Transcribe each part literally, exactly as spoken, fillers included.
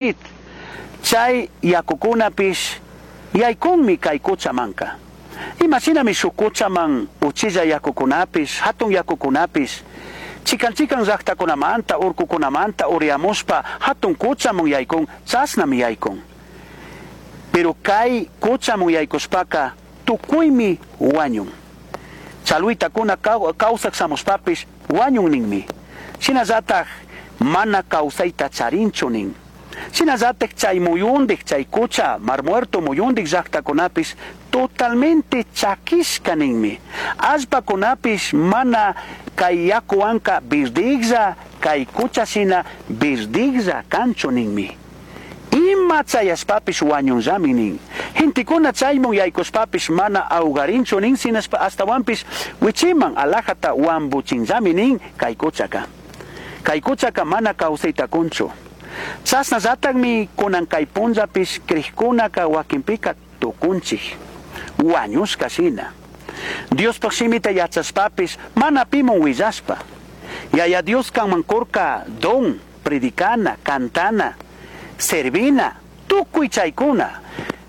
Chay yakukunapish yaykunmi kay kuchamanka. Imashinami shuk kuchaman uchilla yakukunapish, hatun yakukunapish, chikan chikan llaqtakunamanta, urkukunamanta uriyamushpa hatun kuchaman yaykun, chashnami yaykun. Pero kay kuchaman yaykushpaka tukuymi wañun. Chalwitakuna kawsaq shamushpapish wañun ninmi. Shinallatak mana kawsayta charinchu nin. Shinallatak chay muyundik, chay kucha, Mar Muerto muyundik llaqtakunapish totalmente chakishka ninmi. Allpakunapish mana kay yakuwanka birdiglla, kay kucha shina birdiglla kanchu ninmi. Ima chayashpapish wañunllami nin. Gentekuna chaymun yaykushpapish mana awgarinchu nin, sinashpa ashtawanpish wichiman alajata wambuchinllami nin kay kuchaka. Kay kuchaka mana kawsayta kunchu. Chashnallatakmi kunan kay punllapish krikkunaka wakinpika tukunchik, wañushka shina. Diospaj shimita yachashpapish mana pimun willashpa. Yaya Dios kanman kurka don, predicana, cantana, servina, tukuy chaykuna.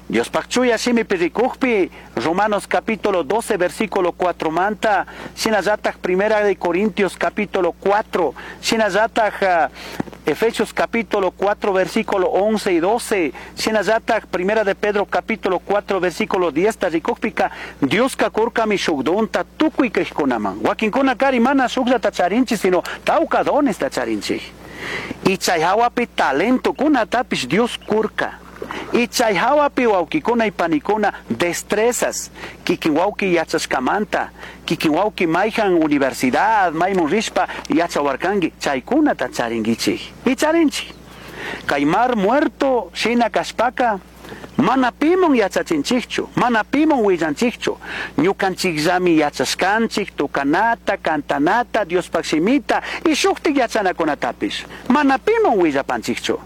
Diospaj chuya shimipi rikukpi, Romanos capítulo doce, versículo cuatro manta, shinallatak Primera de Corintios capítulo cuatro, shinallatak, uh, Efesios capítulo cuatro, versículo once y doce, shinallatak Primera de Pedro capítulo cuatro, versículo diez, ta rikukpika, Dios kakurka mi shukdonta tukuy krikkunaman. Wakinkuna kari mana shukllata charinchik, sino tawka dones ta charinchik. Y chay hawapi talento kunatapish Dios kurka. Y chay hawapi wawkikuna y panikuna destrezas, kikin wawki yachashkamanta, kikin wawki mayhan universidad, maymun rishpa yachawarkanki, chaykunata charinkichik. Y charinchik. Kay Mar Muerto shina kashpaka, mana pimun yachachinchikchu, mana pimun willanchikchu. Ñukanchikllami yachashkanchik, tukanata, cantanata, Diospaj shimita y shuktik yachanakunatapish. Mana pimun willapanchikchu.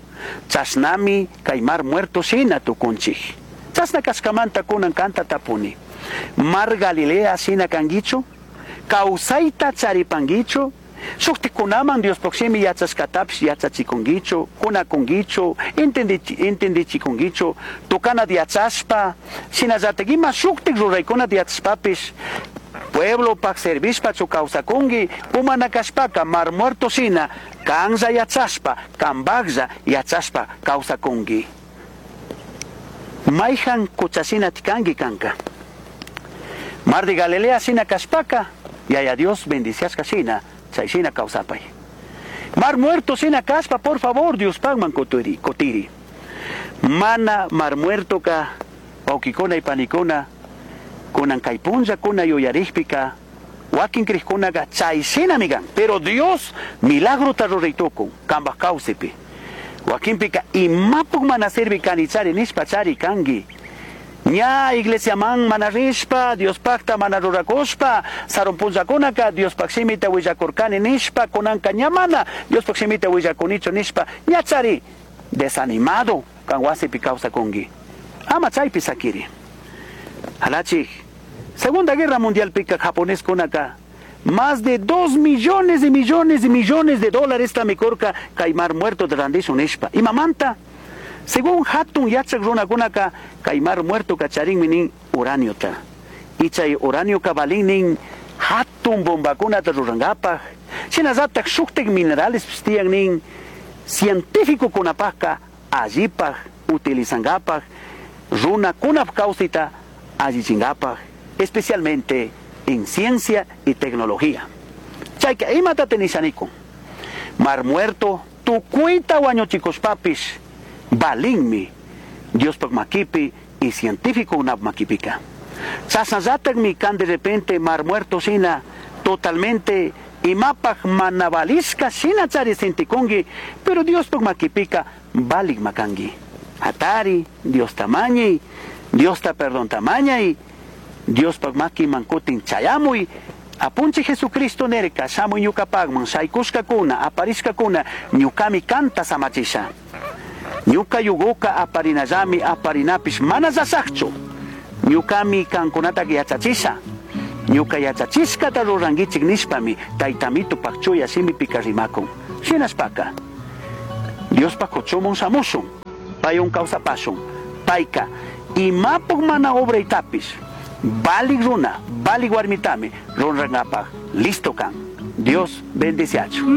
Chashnami kay Mar Muerto shina tukunchik. Chashna kashkamanta kunan kanta tapuni. Mar Galilea shina kankichu? Kawsayta charipankichu? Shuktikunaman Diospaj shimi yachashkatapish yachachikunkichu, kunakunkichu, entendichikunkichu, tukana yachashpa, shinallatak ima shuktik ruraykunata yachashpapish, pueblopaj servishpachu kawsakunki, umana kashpaka Mar Muerto shina kanlla yachashpa, kambaklla yachashpa kawsakunki. Mayhan kuchashina tikanki kanka. Mar de Galilea shina kashpaka, Yaya Dios bendiciashka shina, chay shina kawsapay. Mar Muerto shina kashpa, por favor, Dios pagman kutiri, kutiri. Mana Mar Muerto ka, wawkikuna y panikuna, kunan kay punlla kuna yuyarikpika, wakin krikkunaka chay shinami kan. Pero Dios milagrota ruraytukun, kambaj kawsipi. Wakinpika imapuk mana sirvi kanichari nishpa chari kanki. Ña iglesiaman mana rishpa, Diospajta mana rurakushpa, sarun punllakunaka Diospaj shimita willakurkani nishpa, kunanka ña mana Diospaj shimita willakunichu nishpa, ña chari desanimado kan wasipi kawsakunki. Ama chaypi sakiri. Halachik, Segunda Guerra Mundial pika japonés kunaka, más de dos millones y millones y millones de dólares tamikurka kay Mar Muerto de randishun nishpa. Imamanta, según hatun yachak runakunaka, kay Mar Muerto kacharinmi nin uraniota. Y chay uranio kabalin nin hatun bombakunata rurankapaj. Shinallatak shuktik minerales tiyan nin científico kunapajka allipaj utilizankapaj, runakunap kawsayta allichinkapaj, especialmente en ciencia y tecnología. Chayka imata tenishanikun. Mar Muerto, tukuyta wañuchikushpapis, balinmi Diospaj makipi y científico unap makipika. Chasnallatakmi kan de repente Mar Muerto shina totalmente imapaj manabalisca shina chari sintikunki, pero Diospaj makipika balik makanki. Hatari, Dios tamañi, Dios ta perdón tamañai, Diospaj maki mankutin chayamuy, apunchi Jesucristo nerka, shamuy ñukapagman, shaykushkakuna, aparishkakuna, ñukami kanta samachisha. Ñuka yuguka aparinallami, aparinapish mana llashakchu. Ñukami kankunata yachachisha. Ñuka yachachishkata rurankichik nishpami, taytamito pakchuya shimipika rimakun. Shinashpaka, Diospaj kuchuman shamushun, paywan kawsapashun. Payka imapuk mana obraytapish, valik runa, valik warmitami rurangapaj listo kan. Dios bendiciachun.